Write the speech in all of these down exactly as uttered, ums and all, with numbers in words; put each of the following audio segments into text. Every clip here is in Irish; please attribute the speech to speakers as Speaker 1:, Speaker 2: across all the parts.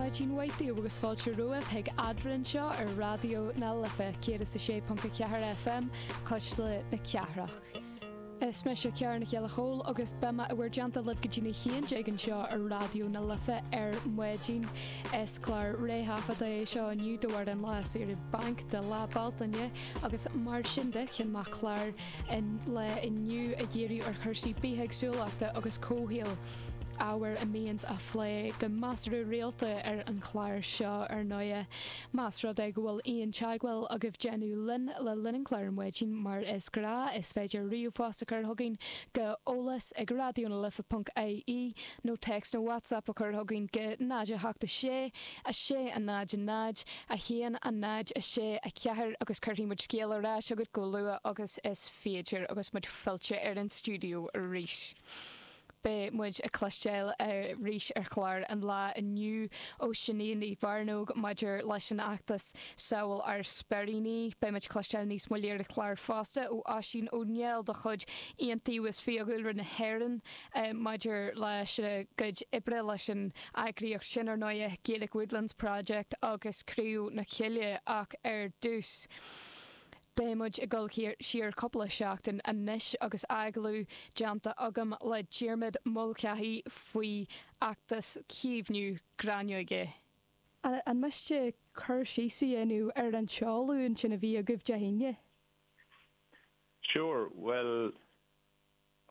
Speaker 1: Maidin mhaith daoibh agus fáilte romhaibh chuig Eadrainn anseo ar Raidió na Life céad is a sé ponc a ceathair FM Cuisle na Cathrach. Is mise Ciara Nic Giolla Chóill agus beidh mé i bhur dteannta libh go dtí a haon déag anseo ar Raidió na Life ar maidin is clár réthaifeadta é seo inniu do an lá saoire bainc de Lá Bealtaine agus mar sin de chinn mé clár an lae inniu a dhíriú ar chúrsaí bithéagsúlachta agus comhshaoil. ábhar a mbíonns á phlé go measartha rialta ar an chlár seo ar ndóigh. Más rud é go bhfuil aon teagmháil agaibh déanamh linn le linn an chláir ar maidin mar is gnách is féidir ríomhphost a chur chugainn go eolas ag radionalife.ie nó text nó WhatsApp a chur chugainn go náid a hocht a sé a sé a náid a náid a haon a náid a sé a ceathair agus cuirfidh muid scéal ar ais chugat chomh luath agus is féidir agus muid fillte ar an stiúideo arís. Beidh muid ag cloisteáil arís ar chlár an lae inniu ó Sinéad Ní Mhearnóg maidir leis an fheachtas Sábháil ár Speiríní, Beidh muid cloisteáil níos moille ar an chlár fosta ó Oisín Ó Néill de chuid Iontaobhas Fiadhúlra na hÉireann maidir leis a gcuid oibre leis an eagraíocht sin ar ndóigh Gaelic Woodlands Project agus Criú na Cille ach ar dtús. Beidh muid ag dul siar cúpla seachtain anois agus agallamh déanta agam le Diarmuid Mulcahy faoi fheachtas caomhnú gráinneoige. An miste cur síos a dhéanamh ar an seoladh ansin a bhí agaibh Dé hAoine?
Speaker 2: Sure, well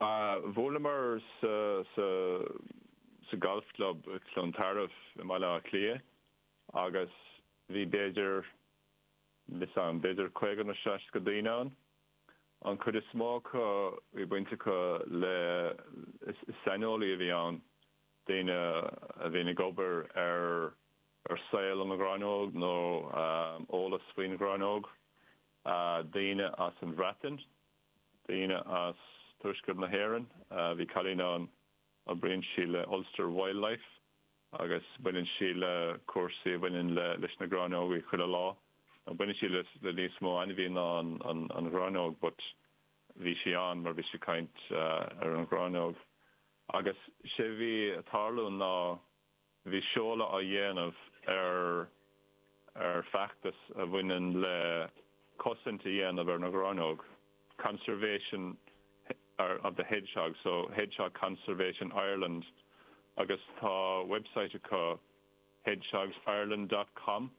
Speaker 2: uh, bhuaileamar sa, sa, sa golf club Clontarf i mBaile Átha Cliath agus bhí b'fhéidir an b'fhéidir caoga nó seasca daoine ann. An chuid is mó acu bhí baint acu le saineolaí a bhí ann daoine a bhíonn ag obair ar ar saol an ghráinneog nó um, eolas faoin ghráinneog, uh, daoine as an Bhreatain, daoine as Tuaisceart na hÉireann, uh, bhí cailín ann oibríonn sí le Ulster Wildlife agus baineann sí le cúrsaí bhaineann le leis na gráinneoga chuile lá. Baineann sí le, le níos mó ainmhí ná an, an, an ghráinneog, but bhí sí ann mar bhí sí caint uh, ar an ghráinneog. Agus sé bhí tarlú ná bhí seoladh á dhéanamh ar ar feachtas a bhaineann le cosaint a dhéanamh ar na gráinneog. Conservation of the Hedgehog, so Hedgehog Conservation Ireland agus tá website acu hedgehogsireland.com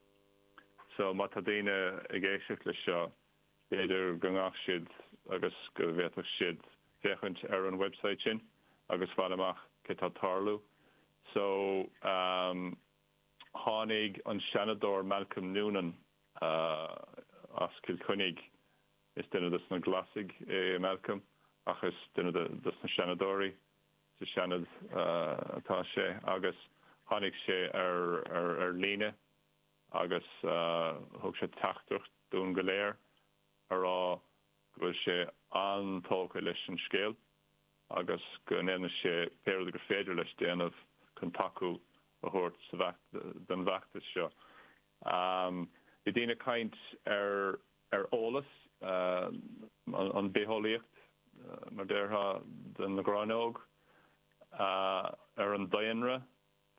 Speaker 2: so má tá daoine ag éisteacht leis seo b'fhéidir go ngabhfadh siad agus go bhféadfadh siad féachaint ar an website sin agus fáil amach cé tá tarlú. So um, tháinig an Seanadóir Malcolm Noonan uh, as Cill Chainnigh is duine des na Glasaigh é Malcolm ach is duine des na Seanadóirí sa Seanad uh, atá sé agus tháinig sé ar, ar, ar líne agus uh, thug sé teachtaireacht dúinn go léir a rá go bhfuil sé an-tógtha leis an scéal agus go ndéanfaidh sé pé rud gur féidir leis déanamh chun tacú a thabhairt don bhfeachtas seo. Um, bhí daoine caint ar ar eolas uh, an, an bitheolaíocht uh, mar déarfá den ghráinneog uh, ar an daonra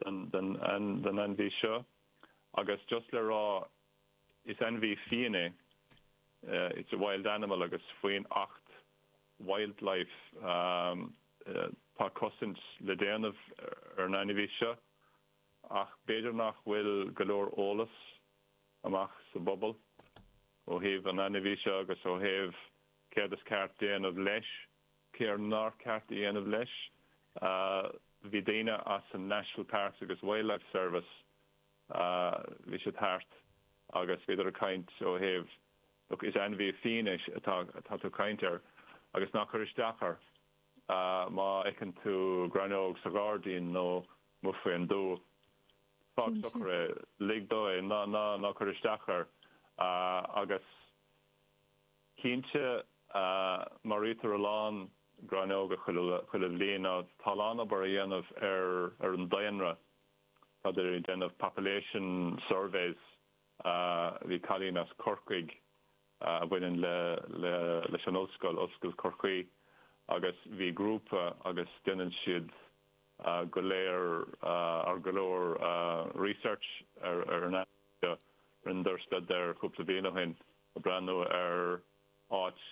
Speaker 2: den, den, den, den ainmhí seo agus just le rá is ainmhí fiáin é uh, it's a wild animal agus faoin Acht Wildlife um, uh, tá cosaint le déanamh ar an ainmhí seo ach b'fhéidir nach bhfuil go leor eolas amach sa bpobal ó thaobh an ainmhí seo agus ó thaobh céard is ceart déanamh leis, céard nár ceart déanamh leis. Uh, bhí daoine as an National Parks agus Wildlife Service uh, bhí siad thart agus bhíodar ag caint ó thaobh look, is ainmhí fiáin é atá atá tú caint air agus ná cuir isteach air uh, má fheiceann tú gráinneog sa ghairdín nó amuigh faoin dtuath. Fág socair é lig dó é ná ná ná cuir isteach air uh, agus cinnte uh, maraítear a lán gráinneoga chuile chuile bhliain tá a lán obair á dhéanamh ar ar an daonra Tá déanamh population surveys uh, bhí cailín as Corcaigh uh, a bhaineann le, le, leis an ollscoil Ollscoil Chorcaí agus bhí grúpa agus déanann siad go léir ar go leor research ar ar an rinneadar staidéar cúpla bliain ó shin ag breathnú ar áit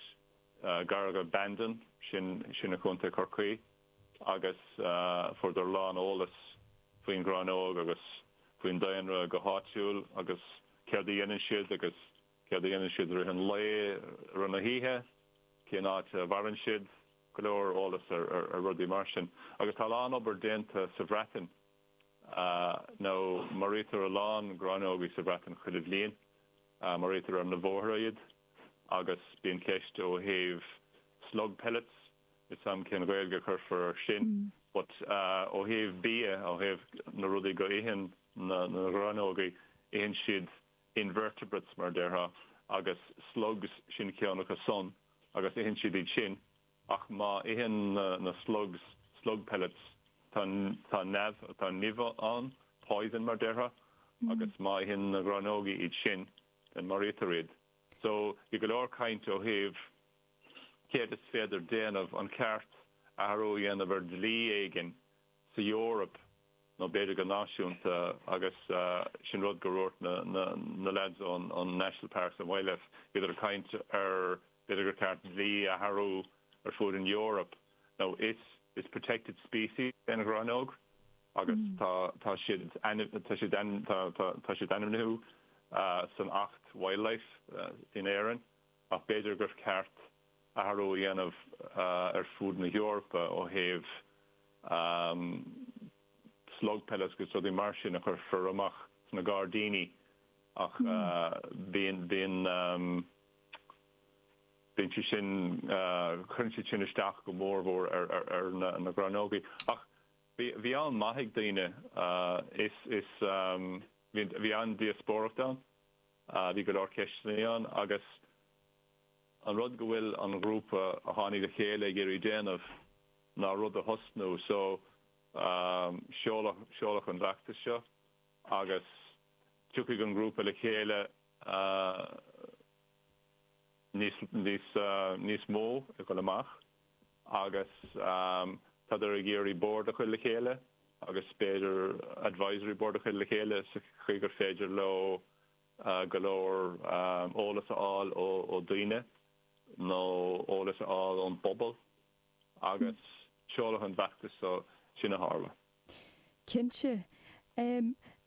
Speaker 2: gar go Bandon sin sin i gContae Chorcaí agus fuaireadar a lán eolas faoin ghráinneog agus faoin daonra go háitiúil agus céard a dhéanann siad agus céard a dhéanann siad rith an lae rith na hoíche, cén áit a mhaireann siad, go leor eolas ar ar rudaí mar sin. Agus tá a lán obair déanta sa Bhreatain nó maraítear a lán gráinneogaí sa Bhreatain chuile bhliain, maraítear ar na bóithre iad agus bíonn ceist ó thaobh slug pellets, níl 's a'm cén Ghaeilge a chuirfear ar sin, but ó thaobh bia, ó thaobh na rudaí go itheann na na gráinneogaí, itheann siad invertebrates mar a déarfá agus slugs sin ceann acu san agus itheann siad iad sin ach má itheann na na slugs slug pellets tá tá neamh tá nimh ann, poison mar a déarfá agus má itheann na gráinneogaí iad sin then maraítear iad. So bhí go leor caint ó thaobh céard is féidir déanamh, an ceart athrú a dhéanamh ar dlí éigin sa Eoraip nó b'fhéidir go náisiúnta agus sin rud go ndúirt na na lads ón ón National Parks and Wildlife, bhíodar ag caint ar b'fhéidir gur ceart dlí a athrú ar fud an Eoraip. Now is is protected species é an ghráinneog agus tá tá siad tá siad tá tá tá siad ainmnithe san Acht Wildlife in Éirinn ach b'fhéidir gur ceart athrú a dhéanamh ar fud na hEorpa ó thaobh slug pellets agus rudaí mar sin a chuirfear amach sna gairdíní ach bíonn bíonn bíonn sé sin cuireann siad sin isteach go mór mhór ar ar ar na na gráinneogaí ach bhí bhí an maith ag daoine is is bhí bhí an-díospóireacht ann bhí go leor ceisteanna ann agus an rud go bhfuil an grúpa a tháinig le chéile ag iarraidh déanamh ná rud a thosnú so seoladh seoladh an feachtas seo agus tiocfaidh an grúpa le chéile níos níos níos mó ag dul amach agus tádar ag iarraidh bord a chur le chéile agus b'fhéidir advisory board a chur le chéile sa chaoi gur féidir leo go leor eolas a fháil ó ó daoine nó eolas a fháil ón bpobal agus seoladh an feachtas so sin a tharla.
Speaker 1: Cinnte.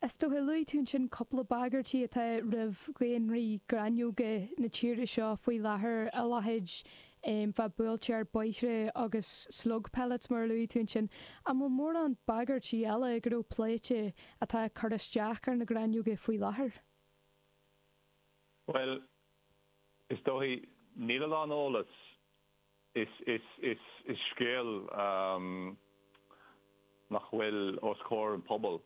Speaker 1: Is dócha, luaigh tú ansin cúpla bagairtí atá roimh dhaonraí gráinneoga na tíre seo faoi láthair, a leithéid bheith buailte ar bóithre agus slug pellets mar a luaigh tú ansin. An bhfuil mórán bagairtí eile go raibh pléite atá ag cur isteach ar na gráinneoga faoi láthair?
Speaker 2: Bhuel, is dóigh, níl a lán eolas. Is, is, is, is scéal nach bhfuil os comhair an pobail.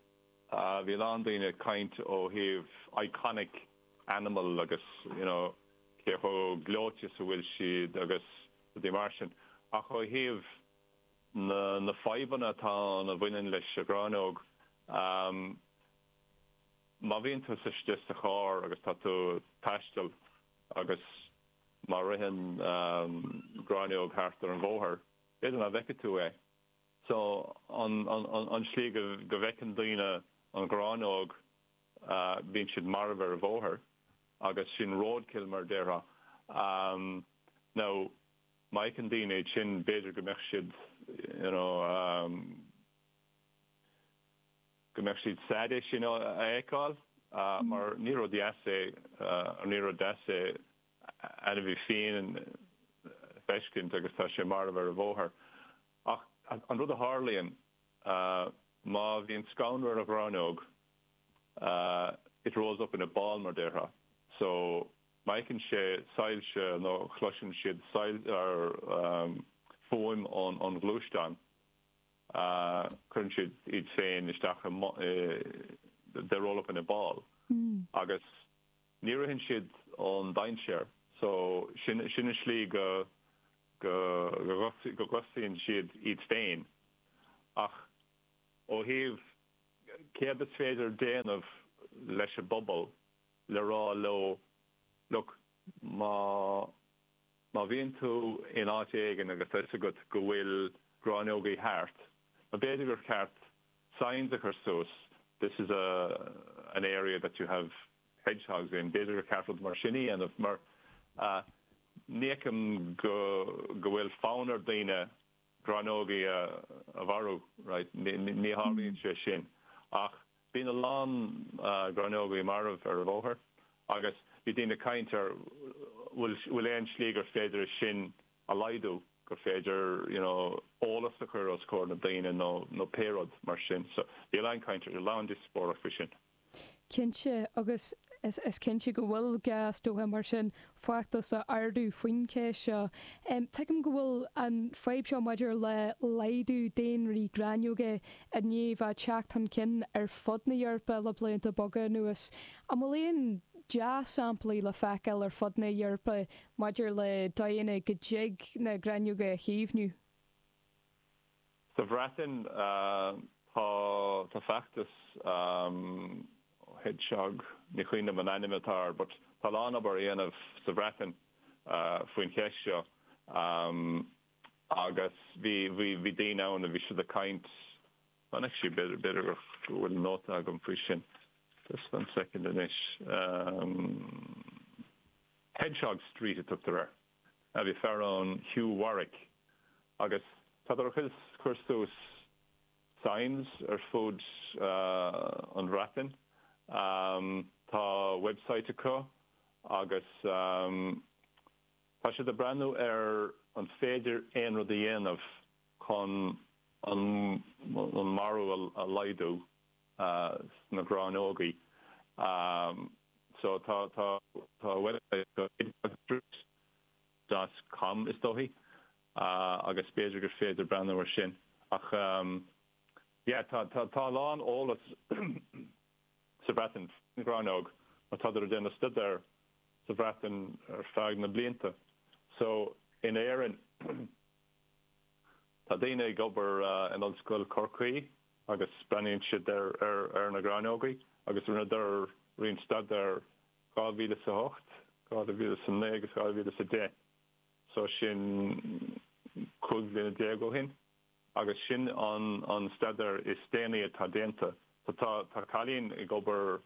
Speaker 2: Bhí a lán daoine ag caint ó thaobh iconic animal agus you know cé chomh gleoite is a bhfuil siad agus rudaí mar sin. Ach ó thaobh na, na fadhbanna atá ann a bhaineann leis an ghráinneog, má bhíonn tú istigh sa charr agus tá tú ag taisteal agus má ritheann gráinneog thart ar an bhóthar, b'fhéidir nach bhfeicfidh tú é. So an an slí go go bhfeiceann daoine an ghráinneog, bíonn siad marbh ar an bhóthar agus sin roadkill mar a déarfá. Now má fheiceann daoine iad sin b'fhéidir go mbeadh siad you know go mbeadh siad sad é sin a fheiceáil mar ní rud deas é ní rud deas é ainmhí fiáin a feiscint agus tá sé marbh ar an bhóthar. Ach an rud a tharlaíonn má bhíonn scanradh ar an ghráinneog it rolls up in a ball mar déarfá. So má fheiceann sé soilse nó chloiseann siad fuaim ón ghluaisteán cuireann siad iad féin isteach i they roll up in a ball agus ní ritheann siad ón dainséar so sin sin an slí go go go gcosnaíonn siad iad féin ach ó thaobh céard is féidir déanamh leis an bpobal le rá leo look má má bhíonn tú in áit éigin agus tá fhios agat go bhfuil gráinneogaí thart B'fhéidir gur ceart signs a chur suas this is a an area that you have hedgehogs in b'fhéidir gur ceart rud mar sin a dhéanamh mar uh, ní fheicim go go bhfuil fonn ar daoine gráinneogaí a, a mharú right ní ní tharlaíonn sé sin ach bíonn a lán uh, gráinneogaí marbh ar an bhóthar agus bhí daoine ag caint ar bhfuil bhfuil aon slí gur féidir sin a laghdú gur féidir you know eolas a chur os comhair na daoine nó nó pé rud mar sin so bhí lán caint ar lán díospóireacht faoi sin.
Speaker 1: Cinnte agus is, is cinnte go bhfuil gá is dócha mar sin feachtas a ardú faoin cheist seo. Um, Tuigim go bhfuil an fadhb seo maidir le laghdú daonraí gráinneoga i ndiaidh bheith teacht chun cinn ar fud na hEorpa le blianta beaga anuas. An bhfuil aon dea-shamplaí le feiceáil ar fud na hEorpa maidir le daoine go dtig na gráinneoga a chaomhnú.
Speaker 2: Sa Bhreatain uh, tá tá feachtas um, hedgehog ní cuimhin liom an ainm atá air, but tá lán obair á dhéanamh sa Bhreatain uh, faoin cheist seo um, agus bhí bhí bhí daoine ann a bhí siad ag caint actually b'fhéidir b'fhéidir go bhfuil nóta agam faoi sin. Just one second anois. Um, Hedgehog Street a tugtar air. A bhí fear ann Hugh Warwick agus tá chus chur suas signs ar fud uh, an Bhreatain. Um, tá website acu agus um, tá siad ag breathnú ar an féidir aon rud a dhéanamh chun an, an marú a, a laghdú uh, na gráinneogaí. Um, so tá tá tá website dot com is dóichí uh, agus b'fhéidir gur féidir breathnú ar sin ach um, yeah, tá tá tá lán eolas sa Bhreatain gráinneog mar tá ag déanamh staidéar sa Bhreatain ar feadh na blianta. So in Éirinn tá daoine ag obair uh, in Ollscoil Chorcaí agus breathnaíonn siad ar ar ar na gráinneogaí agus rinneadar roinnt staidéar dhá mhíle sa hocht, dhá mhíle sa naoi agus dhá mhíle sa deich. So sin cúig bliana déag ó shin agus sin an an staidéar is déanaí atá déanta. So tá tá cailín ag obair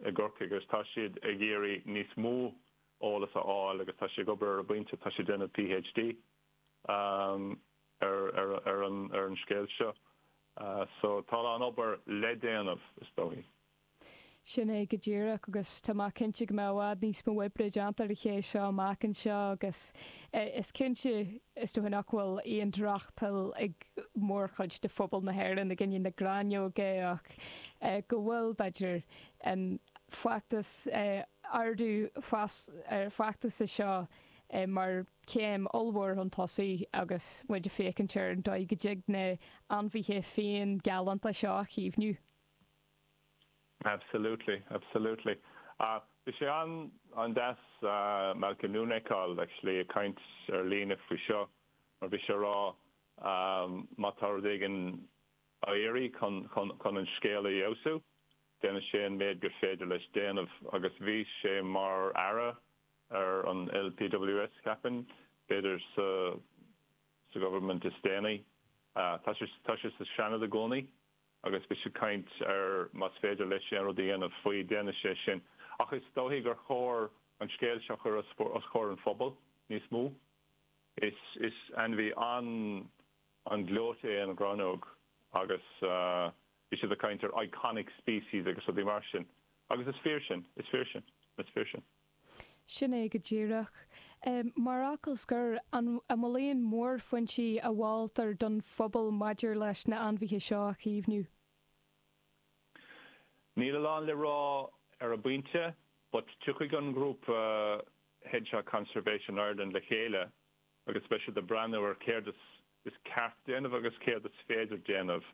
Speaker 2: i gCorcaigh agus tá siad ag iarraidh níos mó eolas a fháil agus tá sé ag obair ar bpointe tá sé déanamh PhD um, ar, ar, ar, an, ar an scéal seo. Uh, so tá an obair le déanamh is dóichí.
Speaker 1: Sin é go díreach agus tá mé cinnte go mbeidh i bhfad níos mó oibre déanta ar an cheist seo amach anseo agus is cinnte is dócha nach bhfuil aon drochtoil ag mórchuid de phobal na hÉireann i gcoinne na gráinneoga ach go bhfuil b'fhéidir an feachtas ardú feachtas seo mar céim ollmhór chun tosaigh agus muid ag féachaint ar an dóigh go dtig na ainmhithe fiáin galánta seo a chaomhnú.
Speaker 2: Absolutely, absolutely. Uh, bhí sé an an deas uh, Malcolm Noonan actually ag caint ar líne faoi seo mar bhí sé ag rá um, má tá rud éigin á iarraidh chun, chun, chun an scéal a fheabhsú, déanfaidh sé an méid gur féidir leis déanamh agus bhí sé mar aire ar an LPWS ceapaim b'fhéidir sa, sa government is déanaí. Uh, tá sé tá sé sa Seanad i gcónaí agus bhí sé ag caint ar más féidir leis an rud a dhéanamh faoi déanfaidh sé sin. Ach is dóichí gur chóir an scéal seo chur os comhair an phobal níos mó. Is, is ainmhí an an gleoite é an ghráinneog agus uh, bhí siad ag caint ar iconic species agus rudaí mar sin. Agus is fíor sin, is fíor sin, is fíor sin.
Speaker 1: Sin é go díreach. Um, mar fhocal scoir an bhfuil aon mhórphointí a mholtar don phobal maidir leis na ainmhithe seo a chaomhnú.
Speaker 2: Níl a lán le rá ar an bpointe, but tiocfaidh an grúpa uh, Hedgehog Conservation Ireland le chéile agus beidh siad ag breathnú ar céard is, is ceart déanamh agus céard is féidir déanamh.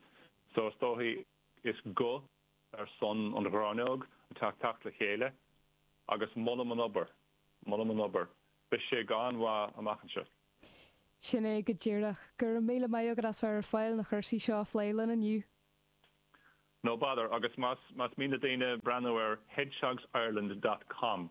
Speaker 2: So is dóichí is go ar son an ghráinneog atá ag teacht le chéile agus molaim an obair, molaim an obair. Beidh sé an-mhaith amach anseo.
Speaker 1: Sin é go díreach go raibh míle maith agat as bheith ar fáil na cúrsaí seo a phlé linn inniu.
Speaker 2: No bother agus más más mian le daoine breathnú ar hedgehogsireland dot com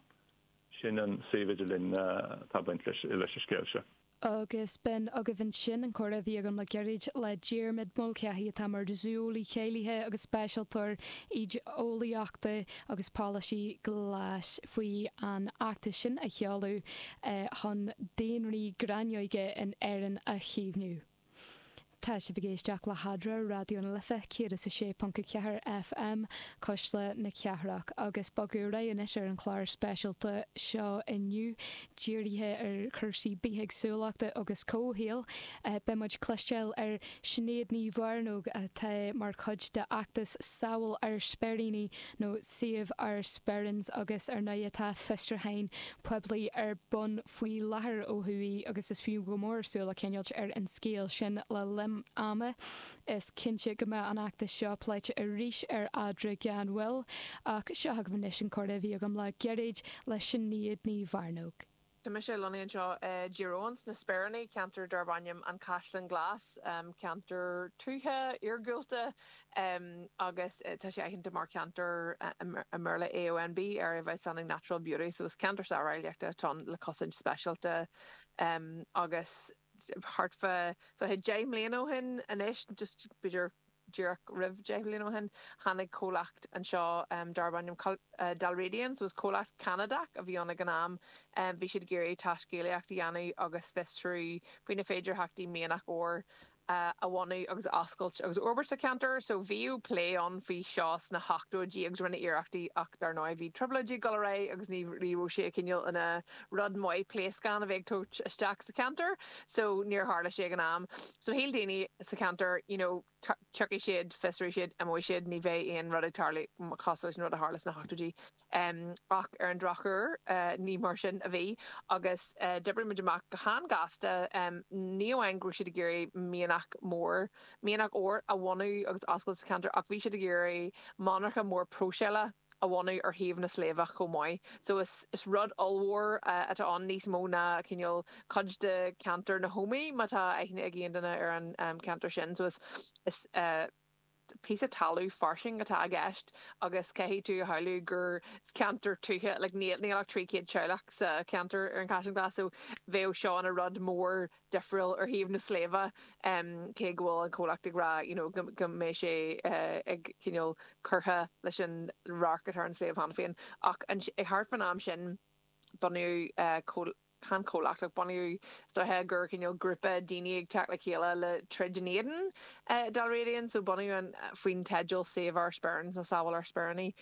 Speaker 2: sin an suíomh idirlín uh, atá baint leis leis an scéal seo.
Speaker 1: Agus b'in agaibh ansin an comhrá a bhí agam le gairid le Diarmuid Mulcahy atá mar zúeolaí cáilithe agus speisialtóir éiceolaíochta agus polasaí glas faoi an fheachtas sin a sheoladh chun daonraí gráinneoige in Éirinn a chaomhnú. Tá sibh ag éisteacht le hEadra Raidió na Life céad is a sé ponc a ceathair FM Cuisle na Cathrach agus bogadh ar aghaidh anois ar an chlár speisialta seo inniu dírithe ar chúrsaí bithéagsúlachta agus comhshaoil. Beidh muid cloisteáil ar Sinéad Ní Mhearnóg atá mar chuid de fheachtas Sábháil Ár Speiríní nó Save Our Sperrins agus ar ndóigh tá fiosrúchán poiblí ar bun faoi láthair ó thuaidh agus is fiú go mór súil a choinneáil ar an scéal sin le linn ama. Is cinnte go mbeidh an fheachtas seo pléite arís ar Eadra gan mhoill, ach seo agaibh anois an comhrá a bhí agam le gairid le Sinéad Ní Mhearnóg.
Speaker 3: Tá mise lonnaithe anseo i dTír Eoghain sna Speiríní, ceantar darb ainm an Caisleán Glas, ceantar tuaithe iargúlta agus tá sé aitheanta mar cheantar i mBéarla AONB, Area of Outstanding Natural Beauty, so is ceantar sáráilleachta atá ann le cosaint speisialta agus thart fá so deich mbliana ó shin anois, just b'fhéidir díreach roimh deich mbliana ó shin, tháinig comhlacht anseo darb ainm Dalradian, so is comhlacht Ceanadach a bhí ann ag an am. Bhí siad ag iarraidh taiscéalaíocht a dhéanamh agus fiosrú faoi na féidearthachtaí mianach óir a bhunú agus a oscailt agus a fhorbairt sa cheantar. So bhíodh plé ann faoi seo sna hochtóidí agus rinneadh iarrachtaí ach dar ndóigh bhí trioblóidí ag dul ar aghaidh agus ní raibh sé cineál ina rud maith pléascán a bheith ag tabhairt isteach sa cheantar. So níor tharla sé ag an am. So shíl daoine sa cheantar you know tiocfaidh siad, fiosróidh siad, imeoidh siad, ní bheidh aon rud ag tarlú cosúil leis an rud a tharla sna hochtóidí. Ach ar an drochuair ní mar sin a bhí agus d'oibrigh muid amach go han-ghasta ní amháin go raibh siad ag iarraidh mianach mór, mianach óir a bhunú agus oscailt sa cheantar ach bhí siad ag iarraidh monarcha mór próiseála a bhunú ar thaobh na sléibhe chomh maith. So is is rud ollmhór atá ann níos mó ná cineál cuid de cheantar na hÓmaí má tá aithne ag aon duine ar an ceantar sin. So is is píosa talamh fairsing atá i gceist agus caithfidh tú a shamhlú gur ceantar tuaithe like níl níl ach trí chéad teaghlach sa cheantar ar an Chaisleán Glas so bheadh seo ina rud mór difriúil ar thaobh na sléibhe cé go bhfuil an comhlacht ag rá you know go go mbeidh sé ag cineál curtha leis an radharc atá ar an sléibh cheana féin. Ach ag thart fán am sin bunaíodh chan comhlacht ach bunaíodh is dóiche gur cineál grúpa daoine ag teacht le chéile le troid in éadan Dalradian so bunaíodh an faoin teideal Save Our Sperrins nó Sábháil Ár Speiríní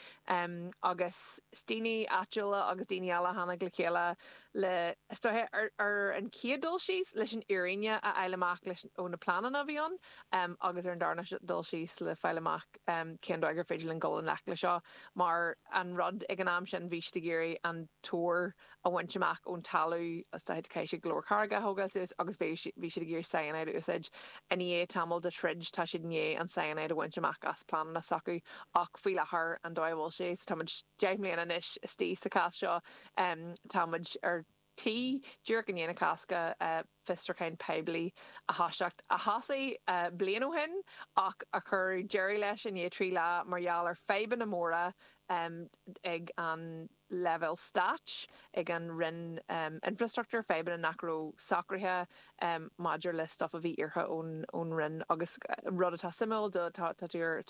Speaker 3: agus daoine áitiúla agus daoine eile a tháinig le chéile le is dóiche ar ar an chéad dul síos leis an fhírinne a fháil amach leis ó na pleananna a bhí ann agus ar an darna dul síos le fáil amach cén dóigh gur féidir linn dul i ngleic le seo mar an rud ag an am sin bhí siad ag iarraidh an t-ór a bhaint amach ón talamh is dóiche caithfidh siad go leor carraige a thógáil suas agus bhí bhí siad ag iarraidh cyanide a úsáid. I ndiaidh tamall de throid tá siad i ndiaidh an cyanide a bhaint amach as pleananna s'acu ach faoi láthair an dóigh a bhfuil sé so tá muid deich mbliana anois istigh sa chás seo tá muid ar tí díreach i ndiaidh na Cásca fiosrúchán poiblí a thoiseacht a thosaigh bliain ó shin ach a cuireadh deireadh leis i ndiaidh trí lá mar gheall ar fadhbanna móra ag an leibhéal stáit, ag an Roinn Infrastruchtúir, fadhbanna nach raibh socraithe maidir le stuff a bhí iarrtha ón ón Roinn agus rud atá suimiúil do tá tú ar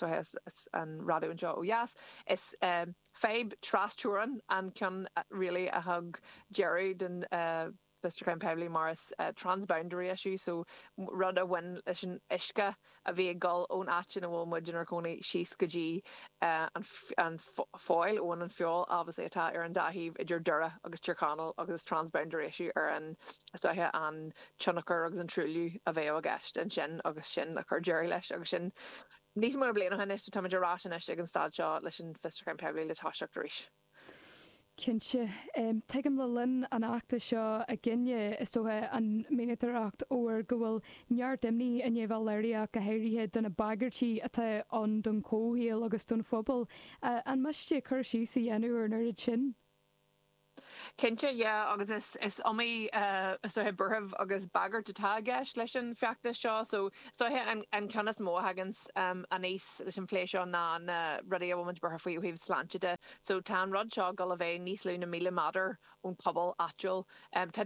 Speaker 3: an raidió anseo ó dheas, is fadhb trasteorann an ceann really a thug deireadh don fiosrúchán poiblí mar is transboundary issue so rud a bhain leis an uisce a bhí ag dul ón áit ina bhfuil muid inár gcónaí síos go dtí an an pholl abhainn an Feabhail obviously atá ar an dá thaobh idir Doire agus Tír Chonaill agus is transboundary issue ar an is dóiche an tionchar agus an truailliú a bheadh i gceist ansin agus sin a chuir deireadh leis agus sin níos mó ná bliain ó shin anois so táimid ar ais anois ag an staid seo leis an fiosrúchán poiblí le toiseacht arís.
Speaker 1: Cinnte. Tuigim le linn an fheachtais seo againne, is dócha, an mhianadóireacht óir go bhfuil neart imní i ndiaidh bheith léirithe ach go háirithe do na bagairtí atá ann don chomhshaol agus don phobal. An miste cur síos a dhéanamh ar an oiread sin?
Speaker 3: Cinnte, yeah, agus is is iomaí is dóiche buaireamh agus bagairt atá i gceist leis an feachtas seo. So is dóiche an an ceann is mó a thaganns aníos leis an phlé seo ná na rudaí a bhfuil muid buartha faoi ó thaobh sláinte de. So tá an rud seo ag dul a bheith níos lú na míle méadar ón pobal áitiúil. Tá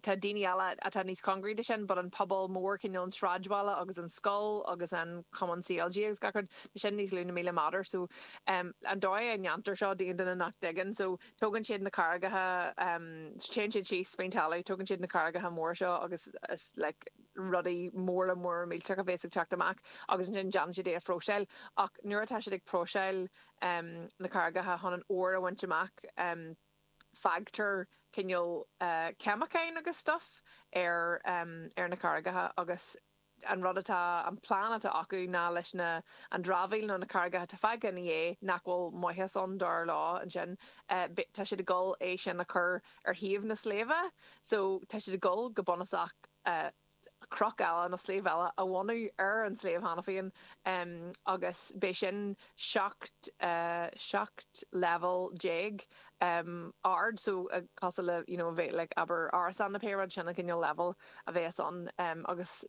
Speaker 3: tá daoine eile atá níos cóngaraí de sin, but an pobal mór cineál an sráidbhaile agus an scoil agus an cumann C L G agus gach rud, tá sin níos lú na míle méadar. So um, an dóigh a ndéantar seo d'aon duine nach dtuigeann, so tógann siad na carraigeacha, um, téann siad síos faoin talamh, tógann siad na carraigeacha mór seo agus is like, rudaí móra móra millteacha a bhéas ag teacht amach agus ansin déanann siad é a phróiseáil. Ach nuair atá siad ag próiseáil um, na carraigeacha chun an ór a bhaint amach, um, fágtar cineál uh, ceimiceáin agus stuff ar um, ar na carraigeacha agus an rud atá an plean atá acu ná leis na an dramhaíl nó na carraigeacha atá fágtha ina dhiaidh nach bhfuil maitheas ann dar leo ansin uh, tá siad ag dul é sin a chur ar thaobh na sléibhe so tá siad ag dul go bunúsach uh, cnoc eile nó sliabh eile a bhunú ar an sliabh cheana féin um, agus beidh sin seacht uh, seacht level déag um, ard so uh, cosúil le you know, bheith like, abair árasán na pé rud sin an cineál level a bheas ann um, agus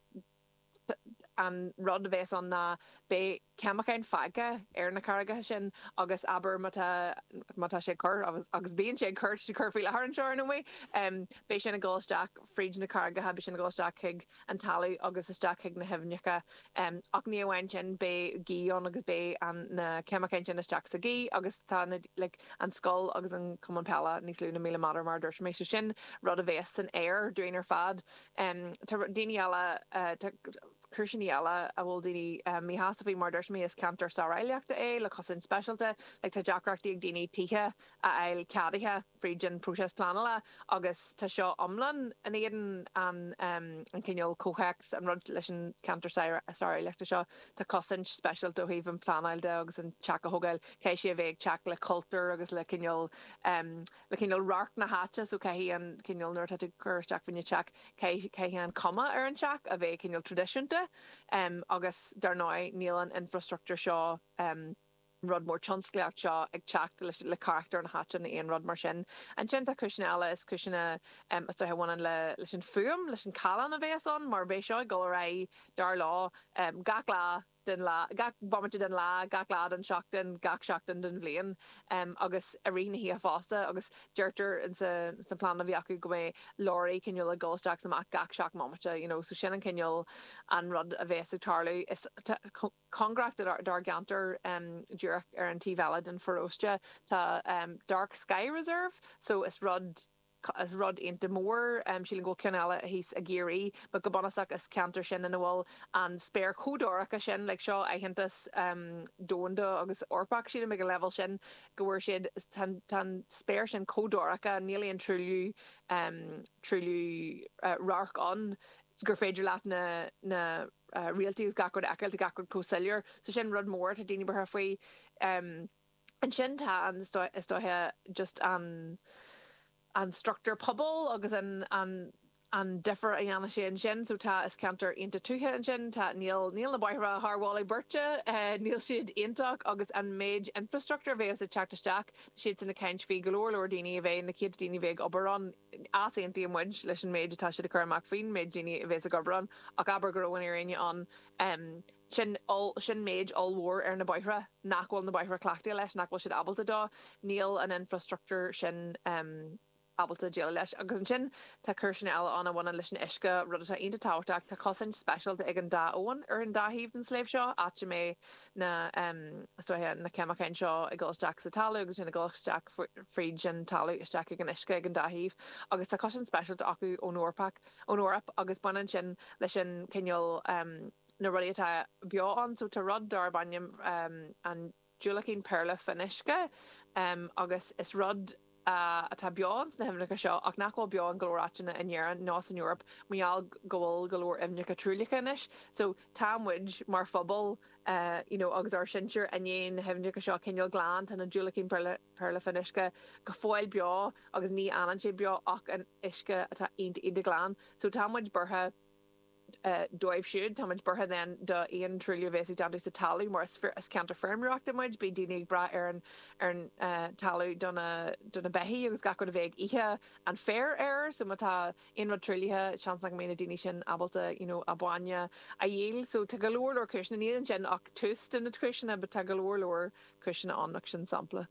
Speaker 3: an rud a bheas ann ná beidh ceimiceáin fágtha ar na carraigeacha sin agus abair má tá má tá sé cur agus agus bíonn sé cur cur faoi láthair anseo nó um, beidh sin ag dul isteach fríd na carraigeacha beidh sin ag dul isteach chuig an talamh agus isteach chuig na haibhneacha um, ach ní amháin sin beidh gaoth ann agus beidh an na ceimiceáin sin isteach sa ghaoth agus tá na like, an scoil agus an cumann peile níos lú na míle méadar mar dúirt mé so sin rud a bheas san aer dúinn ar fad um, tá daoine eile uh, cúiseanna eile a bhfuil daoine um, míshásta faoi mar dúirt mé is ceantar sároidhreachta é le cosaint speisialta le tá deacrachtaí ag daoine tithe a fháil ceadaithe fríd an próiseas pleanála agus tá seo iomlán in éadan an um, an cineál comhthéacs an rud leis an ceantar sároidhreachta seo tá cosaint speisialta ó thaobh an phleanáil de agus an teach a thógáil caithfidh sé a bheith ag teacht le cultúr agus le cineál um, le cineál radharc na háite so caithfidh an cineál nuair atá tú ag cur isteach faoin teach caithfidh an cuma ar an teach a bheith cineál traidisiúnta um, agus dar ndóigh níl an infrastructure seo um, rud mór tionsclaíocht seo ag teacht le, le carachtar na háite nó aon rud mar sin. Ansin tá cúiseanna eile is cúiseanna um, is dóiche a bhaineann le leis an fuaim leis an callán a bheas ann mar beidh seo ag dul ar aghaidh dar leo um, gach lá den lá gach bomaite den lá gach lá den seachtain gach seachtain den bhliain um, agus i rith na hoíche fosta agus deirtear in sa sa plean a bhí acu go mbeidh leoraí cineál ag dul isteach amach gach seacht mbomaite you know, so sin an cineál an rud a bheas ag tarlú is cóngarach dár gceantar um, díreach ar an taobh eile den pharóiste tá um, Dark Sky Reserve so is rud is rud iontach mór um, sílim go ceann eile thíos i gCiarraí, but go bunúsach is ceantar sin ina bhfuil an spéir chomh dorcha sin le seo aitheantas um, domhanda agus Eorpach sílim ag an level sin go bhfuil siad tá spéir sin chomh dorcha níl aon truailliú um, truailliú uh, radhairc ann gur féidir leat na na uh, réaltaí gach rud a fheiceáil gach rud chomh soiléir so sin rud mór tá daoine buartha faoi um, ansin tá an is dóiche just an an struchtúr pobail agus an an an difear a dhéanann sé ansin so tá is ceantar iontach tuaithe ansin tá níl níl na bóithre thar mholadh beirte uh, níl siad iontach agus an méid infrastructure bheas ag teacht isteach siad sin ag caint faoi go leor leor daoine a bheith na céadta daoine bheith ag obair ann easaontaíonn muid leis an méid atá siad ag cur amach faoin méid daoine a bheas ag obair ann ach abair go raibh an fhírinne ann um, sin sin méid ollmhór ar na bóithre nach bhfuil na bóithre cleachtaithe leis nach bhfuil siad ábalta dó níl an infrastructure sin um, ábalta déileáil leis agus ansin tá cúiseanna eile ann a bhaineann leis an uisce rud atá iontach tábhachtach tá cosaint speisialta ag an dá abhainn ar an dá thaobh den sliabh seo áit a mbeidh na um, na ceimiceáin seo ag dul isteach sa talamh agus sin ag dul isteach fríd an talamh isteach ag an uisce ag an dá thaobh agus tá cosaint speisialta acu ón Eorpach ón Eoraip agus baineann sin leis an cineál um, na rudaí atá beo ann so tá rud darb ainm um, an diúracán péarla fionnuisce um, agus is rud uh, atá beo sna haibhneacha seo ach nach bhfuil beo in go leor áiteanna in Éirinn ná san Eoraip mar gheall go bhfuil go leor aibhneacha truaillithe anois. So tá muid mar phobal uh, you know, agus ár sinsir i ndiaidh na haibhneacha seo cineál glan tá na diúracáin péarla fionnuisce go fóill beo agus ní fhanann sé beo ach in uisce atá iontach iontach glan. So tá muid buartha dóibh siúd. Táimid buartha then do aon truailliú a bheas ag déanamh sa talamh mar is is ceantar feirmeoireachta muid, bíonn daoine ag brath ar an ar an talamh do na do na beithígh agus gach rud a bheidh ag ithe an féar air so má tá aon rud truaillithe seans nach mbeidh na daoine sin ábalta you know a bainne a dhíol. So tá go leor leor cúiseanna, níl ansin ach tús de na cúiseanna but tá go leor leor cúiseanna ann ach sin sampla.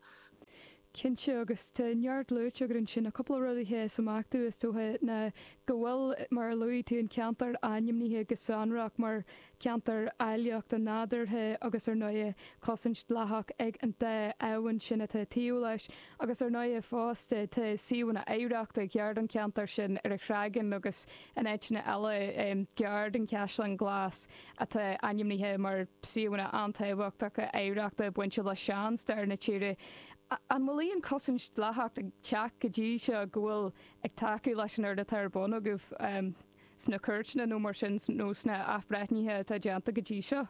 Speaker 1: Cinnte agus tá neart luaite agat ansin cúpla rud a sheas amach domh is dócha ná go bhfuil mar a luaigh tú an ceantar ainmnithe go sonrach mar ceantar áilleachta nádúrtha agus ar ndóigh cosaint dleathach ag an dá abhainn sin atá taobh leis agus ar ndóigh fosta tá suíomhanna oidhreachta gar don ceantar sin ar an Chreagán agus in áiteanna eile gar don Chaisleán Glas atá ainmnithe mar suíomhanna an-tábhachtacha oidhreachta bainte le seanstair na tíre. An bhfuil aon cosaint dleathach ag teacht go dtí seo go bhfuil ag tacú leis an obair atá ar bun agaibh um, sna cúirteanna nó mar sin nó sna athbhreithnithe atá déanta go dtí seo?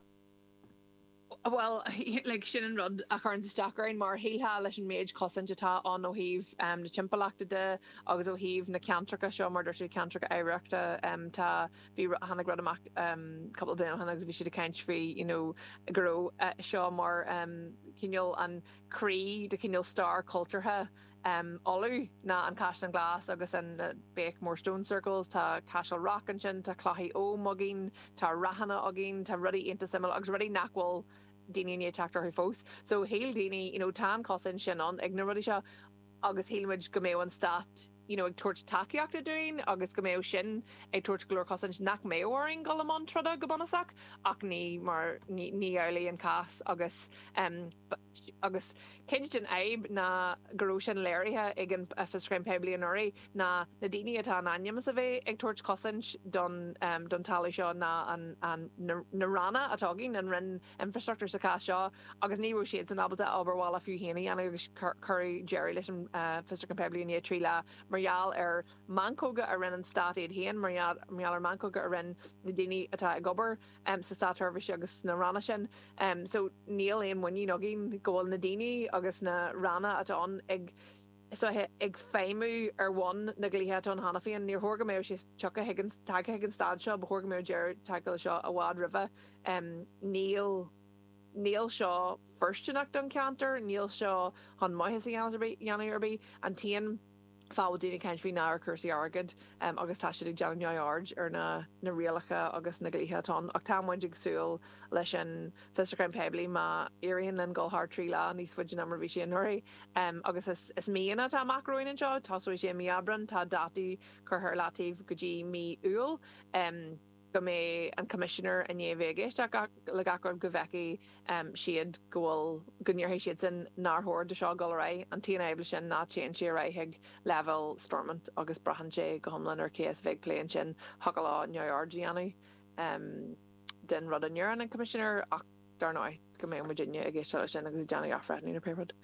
Speaker 3: Well like, sin an rud a chuireann isteach orainn mar shílfeá leis an méid cosaint atá ann ó thaobh um, na timpeallachta de agus ó thaobh na ceantracha seo mar dúirt ceantracha oidhreachta um, tá bhí tháinig rud amach um, cúpla bliain ó shin agus bhí siad ag caint faoi you know, go raibh uh, seo mar um, cineál an croí de cineál stair cultúrtha um, Uladh ná an Caisleán Glas agus an uh, Beaghmore Stone Circles, tá Cashel Rock ansin, tá clocha Oghaim againn, tá ráthanna againn, tá rudaí iontach suimiúil agus rudaí nach bhfuil daoine ní teacht orthu fós. So shíl daoine you know, tá an cosaint sin ann ag na rudaí seo agus shíl muid go mbeadh an stát you know, ag tabhairt tacaíochta dúinn agus go mbeadh sin ag tabhairt go leor cosaint nach mbeadh orainn dul i mbun troda go bunúsach ach ní mar ní ní amhlaidh an cás agus um, agus cuid den fhadhb ná go raibh sin léirithe ag an fiosrúchán poiblí anuraidh ná na daoine atá in ainm is a bheith ag tabhairt cosaint don um, don talamh seo ná an, an, na, na ranna atá againn an Roinn Infrastructure sa chás seo agus ní raibh siad san ábalta obair bhaile fiú féin a dhéanamh agus cuireadh deireadh leis an uh, fiosrúchán poiblí i ndiaidh trí lá mar gheall ar meancóga a rinne an stát iad féin mar gheall ar meancóga a rinne na daoine atá ag obair um, sa státseirbhís agus na ranna sin. Um, so níl aon muinín againn go bhfuil na daoine agus na ranna atá ann ag so ag feidhmiú ar bhonn na dlíthe atá ann cheana féin níor chóir go mbeadh sé tagtha chuig an tagtha chuig an staid seo ba chóir go mbeadh deireadh tagtha seo i bhfad roimhe um, níl níl seo fóirsteanach don ceantar, níl seo chun maitheas a dhéanamh ar bith an t-aon fáth daoine caint faoi ná ar cúrsaí airgid um, agus tá siad ag déanamh neamhaird ar na, na rialacha agus na dlíthe atá ann ach tá muid ag súil leis an fiosrúchán poiblí má éiríonn linn dul thar trí lá níos faide ná mar bhí sé anuraidh um, agus is, is míonna atá amach romhainn anseo tosóidh sé mí Aibreán tá dátaí curtha ar leataobh go dtí mí Iúil um, go mbeidh an Commissioner i ndiaidh bheith ag éisteacht le gach rud go bhfeicfidh um, siad go bhfuil go ndéarfaidh siad sin nár chóir do seo dul ar aghaidh an t-aon fhadhb sin ná téann sé ar aghaidh chuig leibhéal Stormont agus braitheann sé go hiomlán ar cé a bheidh ag plé ansin thiocfadh leo neamhaird a dhéanamh um, den rud a ndeireann an Commissioner ach dar ndóigh go mbeidh muidinne ag éisteacht leis sin agus ag déanamh athbhreithniú ar pé rud.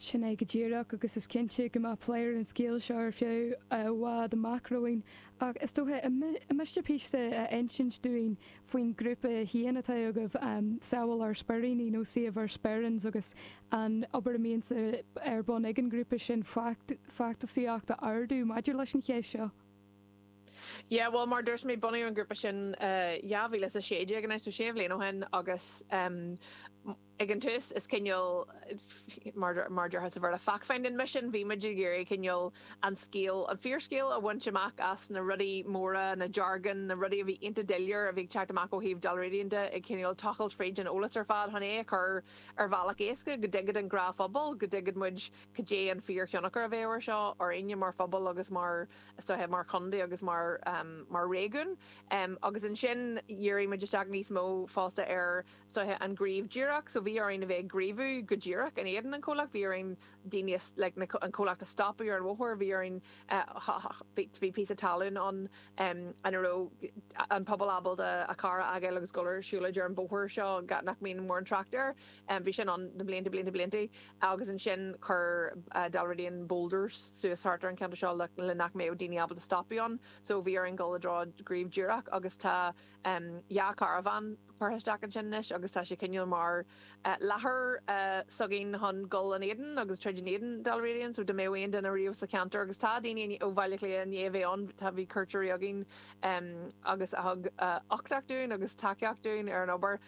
Speaker 1: Sin é go díreach agus is cinnte go mbeidh plé ar an scéal seo ar feadh i bhfad amach romhainn ach is dócha an miste píosa a insint dúinn faoin grúpa féin atá agaibh um, Sábháil Ár Speiríní nó Save Our Sperrins agus an obair a bhíonn ar bun ag an grúpa sin feachtasaíocht a ardú maidir leis an cheist seo.
Speaker 3: Yeah, well mar dúirt mé bunaíodh an grúpa sin uh, dhá mhíle is a sé déag so sé bhliain ó shin agus um, ag an tús is cineál mar mar déarfá sa Bhéarla fact-finding mission bhí muid ag iarraidh cineál an scéal an fíorscéal a bhaint amach as na rudaí móra na jargon na rudaí a bhí iontach doiléir a bhí teacht amach ó thaobh Dalradian de ag cineál tochailt fríd an eolas ar fad chun é a chur ar bhealach éasca go dtuigfeadh an gnáthphobal go dtuigfeadh muid cad é an fíorthionchar a bheadh air seo orainne mar phobal agus mar is mar chontae agus mar um, mar réigiún um, agus ansin dhírigh muid isteach níos mó fosta ar so an gníomh díreach so bhí orainn a bheith ag gníomhú go díreach in éadan an comhlacht bhí orainn daoine like, an comhlacht a stopadh ar an bhóthar bhí orainn bhí píosa talún an um, an raibh an pobal ábalta a carr a fhágáil agus dul ar siúlóid ar an bóthar seo nach mbíonn mórán trácht air um, bhí sin ann na blianta blianta blianta agus ansin chuir uh, Dalradian boulders suas thart ar an ceantar seo le, le nach mbeadh daoine ábalta stopadh ann so bhí orainn dul i dtreo gníomh díreach agus tá um, dhá caravan curtha isteach ansin anois agus tá sé cineál mar láthair s'againn chun dul in éadan agus troid in éadan Dalradian, so dá mbeadh aon duine riamh sa cheantar agus tá daoine ó Bhaile Átha Cliath i ndiaidh a bheith ann, tá bhí cuairteoirí againn agus a thug uchtach dúinn agus tacaíocht dúinn ar an obair.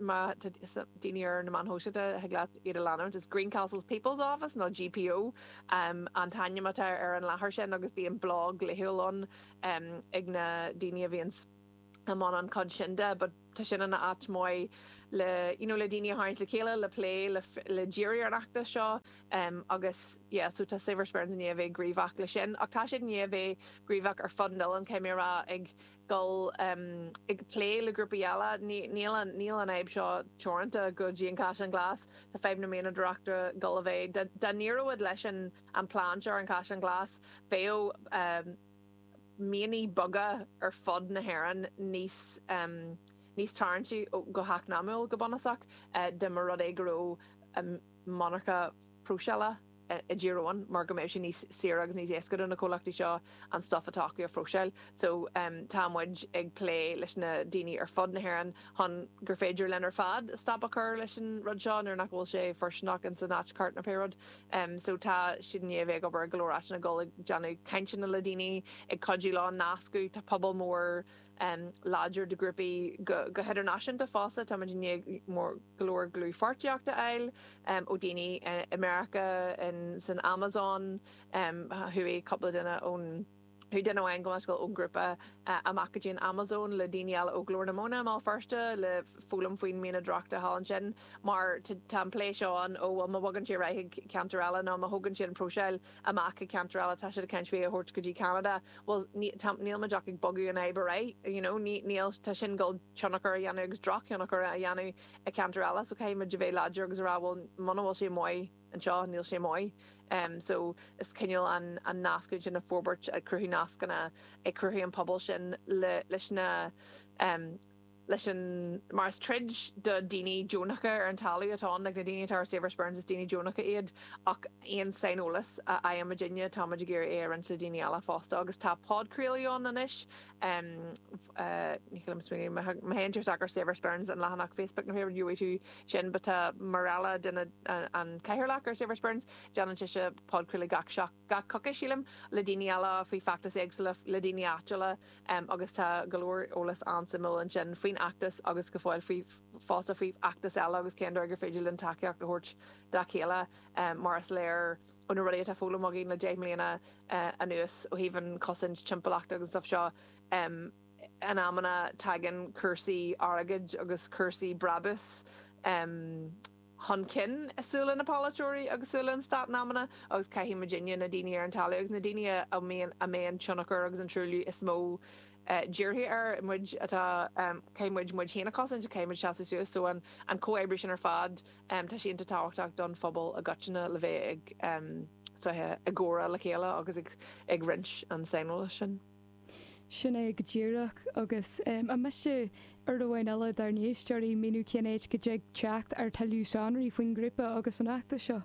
Speaker 3: Má tá daoine ar na meáin shóisialta thig leat iad a leanúint, is Greencastle's People's Office nó GPO an t-ainm atá ar an láthair sin agus bíonn blog laethúil ann ag na daoine a bhíonns i mbun an chuid sin de, but tá sin ina áit maith le you know le daoine a tharraingt le chéile le plé le le díriú ar an fheachtas seo um, agus yeah, so tá Save Our Sperrins i ndiaidh a bheith gníomhach le sin ach tá siad i ndiaidh a bheith gníomhach ar fud an oileáin caithfidh mé a rá ag dul um, ag plé le grúpaí eile níl an níl an fhadhb seo teoranta go dtí an Caisleán Glas tá fadhb na mianadóireachta ag dul a bheith dá n-éireodh leis an an plean seo ar an Caisleán Glas bheadh um, mianaigh beaga ar fud na hÉireann níos um, níos tarraingtí go heacnamaíoch go bunúsach uh, dá mba rud é go raibh um, monarcha próiseála i dTír Eoghain mar go mbeadh sé níos saoire agus níos éasca do na comhlachtaí seo an stuff atá acu a phróiseáil. So um, tá muid ag plé leis na daoine ar fud na hÉireann chun gur féidir linn ar fad stop a chur leis an rud seo nuair nach bhfuil sé fóirsteanach in san áit ceart nó pé rud. Um, so tá siad i ndiaidh a bheith ag obair go leor áiteanna ag dul ag déanamh cainteanna le daoine ag cuidiú leo nascadh tá pobal mór um, láidir de ghrúpaí go, go hidirnáisiúnta fosta tá muid i ndiaidh mór go leor dlúthpháirtíocht a fháil um, ó daoine i America in san Amazon um, chuaigh cúpla duine ón Chuaigh duine amháin go scoil ón grúpa uh, amach go dtí an Amazon le daoine eile ó Glór na Móna i mBéal Feirste le foghlaim faoin mianadóireacht thall ansin mar tá an plé seo an ó bhfuil má bhogann sé chuig ceantar eile nó má thógann sé an próiseáil amach ag ceantar eile tá sé ceint a thabhairt go dtí Canada well níl muid ach ag bogadh an fhadhb right you know níl tá sin ag dul tionchar a dhéanamh agus drochthionchar a dhéanamh i ceantar eile so caithfidh muid a bheith láidir agus rá bhfuil muna bhfuil sé maith anseo níl sé maith. Um, so is cineál an, an nascadh sin a forbairt ag cruthú nascanna ag cruthú an pobal sin le, leis na um, leis an mar is troid do daoine deonacha ar an talamh atá ann like na daoine atá ar Save Our Sperrins is daoine deonacha iad ach aon saineolas a fhaigheann muidinne tá muid ag iarraidh é a roinnt le daoine eile fosta agus tá podchraoladh ann anois um, uh, ní má théann tú ar Save Our Sperrins an leathanach Facebook nó gheobhaidh tú sin but tá Marella duine an cathaoirleach ar Save Our Sperrins déanann sise podchraoladh gach seach gach coicís sílim le daoine eile faoi feachtas éagsúla le daoine áitiúla um, agus tá go leor eolas an-suimiúil ansin faoin fheachtas agus go fóill faoi fosta faoi fheachtas eile agus cén dóigh gur féidir linn tacaíocht a thabhairt dá chéile um, mar is léir ó na rudaí atá foghlamtha againn le deich mbliana uh, anuas ó thaobh an chosaint timpeallachta agus stuff seo um, in amanna tagann cúrsaí airgid agus cúrsaí brabús um, chun cinn i súile na polaiteoirí agus súile an stát in amanna agus caithfidh muidinne na daoine ar an talamh agus na daoine a mbíonn a mbíonn tionchar agus an truailliú is mó uh, dírithe ar muid atá um, caithfidh muid muid féin a chosaint caithfidh muid seasamh suas so an, an comhoibriú sin ar fad um, tá sé an-tábhachtach don phobal i gcoitinne le bheith ag um, so, ag comhrá le chéile agus ag, ag roinnt an saineolas sin.
Speaker 1: Sin é go díreach agus um, an miste ar amháin eile dár n-éisteoirí míniú cén áit go dtig teacht ar tuilleadh sonraí faoin ngrúpa agus an fheachtas seo.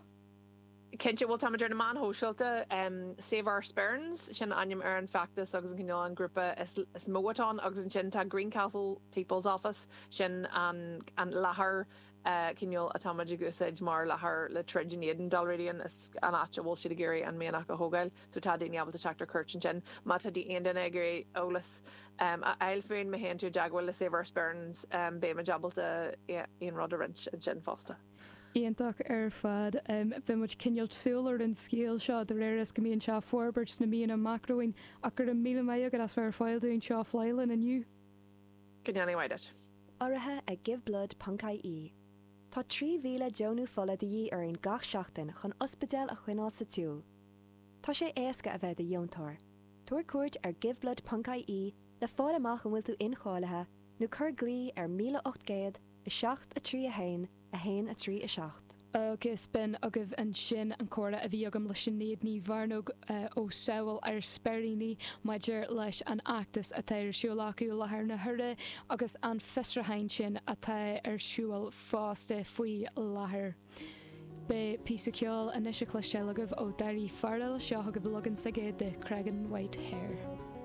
Speaker 3: Cinnte bhfuil táimid ar na meáin shóisialta um, Save Our Sperrins sin ainm ar an feachtas agus an cineál an grúpa is, is mó atá ann agus ansin tá Greencastle People's Office sin an, an láthair uh, cineál atáimid ag úsáid mar láthair le troid in éadan Dalradian is an áit a bhfuil siad ag iarraidh an mianach a thógáil, so tá daoine ábalta teacht ar cuairt ansin má tá aon duine ag iarraidh eolas um, a fháil fúinn má théann tú i dteagmháil le Save Our Sperrins um, beimid ábalta aon rud a roinnt ansin fosta.
Speaker 1: Iontach ar fad um, Beimid cineál súil ar an scéal seo de réir is go mbíonn sé ag forbairt sna míonna amach romhainn ach go raibh míle maith agat as bheith ar fáil dúinn seo flélan inniu.
Speaker 3: Go ndéana maith duit.
Speaker 4: Urraithe ag giveblood.ie. Tá trí mhíle deonú fola de dhíth orainn gach seachtain chun ospidéil a choinneáil sa tsiúl. Tá sé éasca a bheith i do dheontóir. Tabhair cuairt ar giveblood.ie le fáil amach an bhfuil tú incháilithe nó cuir glao ar míle ocht gcéad a seacht a trí a haon a haon a trí a seacht.
Speaker 1: Agus b'in agaibh ansin an comhrá a bhí agam le Sinéad Ní Mhearnóg ó Samhail ár Speiríní maidir leis an fheachtas atá ar siúl acu i láthair na huaire agus an fiosrúchán sin atá ar siúl fosta faoi láthair. Beidh píosa ceoil anois le cloisteáil agaibh ó Daoirí Farrell seo chugaibh leagan s'aige de Creggan White Hare.